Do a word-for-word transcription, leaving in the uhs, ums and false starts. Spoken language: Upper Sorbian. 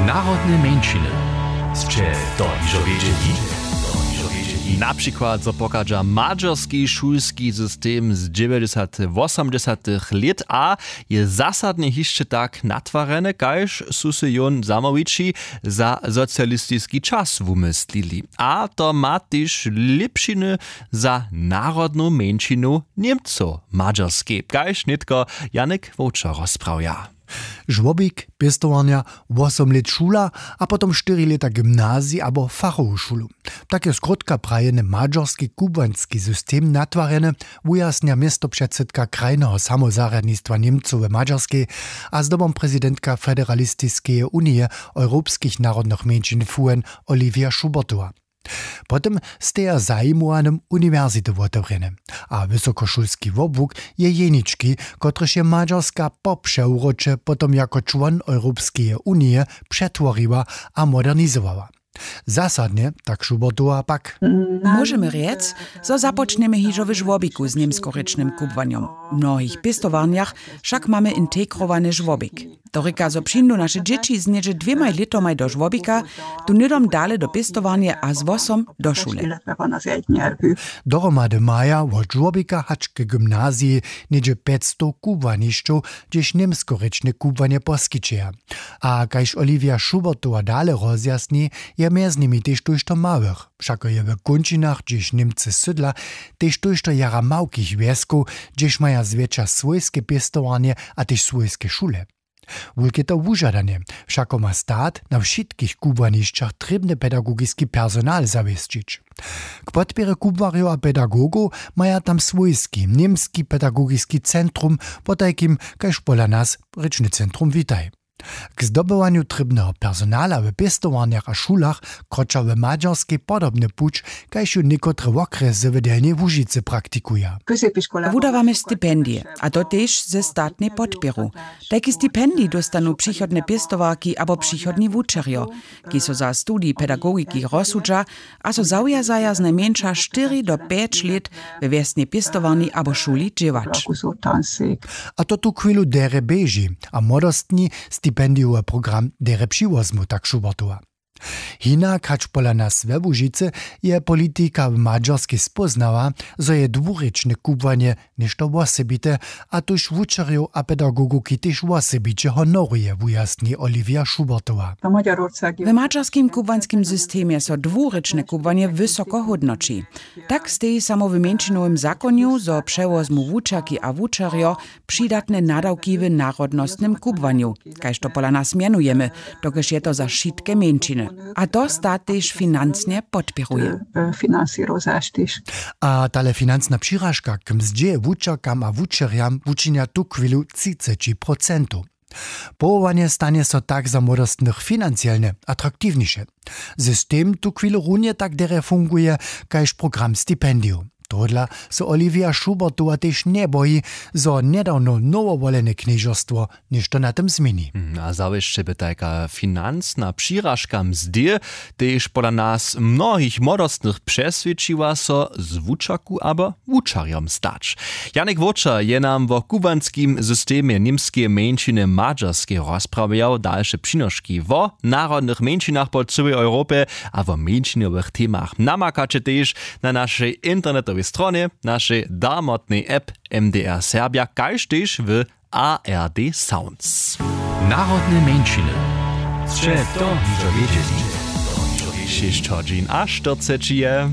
Narodne mjeńšiny. Sće to hižo wědźeli? Na přikład zo pochadźa madźerski šulski system z dźewjećdźesatych wosomdźesatych lět a je zasadnje hišće tak natwarjene, kaž su se jón zamołwići za socialistiski čas wumyslili. A to ma tež lěpšiny za narodnu mjeńšinu němcow w madźerskej, kaž nětko janek wowčer rozprawja. Žłobik, pěstowarnja, wosom lět šula a potom štyri lěta gymnazij abo fachowu šulu. Tak je skrótka prajeny madźerski kubłanski system natwarjeny, wujasnja městopředsydka krajneho samozarjadnistwa němcow w madźerskej a zdobom prezidentka federalistiskeje unije europskich narodnych mjeńšin fuen, olivia schubertowa. Potom steja zajimowanym uniwersity wotewrjene, a wysokošulski wobłuk je jenički, kotryž je madźerska po přewróće potom jako čłon europskeje unije přetworiła a modernizowała. Zasadnje, tak schubertowa, pak móžemy rjec, zo započnjemy hižo w žłobiku z němskorěčnym kubłanjom. W mnohich pěstowarnjach wšak mamy integrowane žłobik. To rěka, zo přińdu naše dźěći z něhdźe dwěmaj lětomaj do žłobika, tu hnydom dale do pěstowarnje a z wosom do šule. Dohromady maja wot žłobika hač k gymnaziji něhdźe pjećstow kubłanišćow, hdźež němskorěčne kubłanje poskićeja. A kaž olivia schubertowa dale rozjasni, je mjez nimi tež tójšto małych. Wšako je w kónčinach, hdźež němcy sydla, tež tójšto jara małkich wjeskow, hdźež maja zwjetša swójske pěstowarnje a tež swójske šule. Wulke to wužadanje, wšako ma stat na wšitkich kubłanišćach trěbny pedagogiski personal zawěsćić. K podpěrje kubłarjow a pedagogow maja tam swójski němski pedagogiski centrum, potajkim kaž pola nas rěčny centrum witaj. K zdobywanju trěbneho personala w pěstowarnjach a šulach kroča w madźerskej podobny puć, kaž ju někotre wokrjesy w delnjej łužicy praktikuja. Wudawamy stipendije, a to tež ze statnej podpěru. Tajki stipendij dóstanu přichodne pěstowarki abo přichodni wučerjo, kiž so za studij pedagogiki rozsudźa a so zawjazaja znajmjeńša štyri do pjeć lět we wjesnej pěstowarni abo šuli dźěłać. A to tuchwilu derje běži a młodostni stipendijowy program derje přiwozmu, tak schubertowa. Hinak hač pola nas we łužicy je politika w madźerskej spóznała, zo je dwurěčne kubłanje něšto wosebite, a tuž wučerjow a pedagogowki tež wosebiće honoruje, wujasni olivia schubertowa. W madźerskim kubłanskim systemje so dwurěčne kubłanje wysoko hódnoći. Tak steji samo w mjeńšinowym zakonju, zo přewozmu wučerki a wučerjo přidatne nadawki w narodnostnym kubłanju, kaž to pola nas mjenujemy, dokelž je to za wšitke mjeńšiny. A to stat tež financnje podpěruje. A tale financna přiražka k mzdźě wučerkam a wučerjam wučinja tuchwilu třiceći procentow. Powołanje stanje so tak za młodostnych financielnje atraktiwniše. System tuchwilu runje tak derje funguje kaž program stipendijow. Tohodla so olivia schubertowa tež njeboji, zo njedawno nowowolene knježerstwo něšto na tym změni. A zawěsće by tajka financna přiražka mzdy tež pola nas mnohich młodostnych přeswědčiła so z wučerku abo wučerjom stać. Janik wowčer je nam wo kubłanskim systemje němskeje mjeńšiny w madźerskej rozprawjał. Dalše přinoški wo narodnych mjeńšinach po cyłej europje a wo mjeńšinowych temach namakaće tež na našej internetowej stronje, našej darmotnej app, mdr serbja, kaž tež w ard sounds. Narodne mjeńšiny. Sće to hižo wědźeli? Šěsć hodźin a štyrceći je.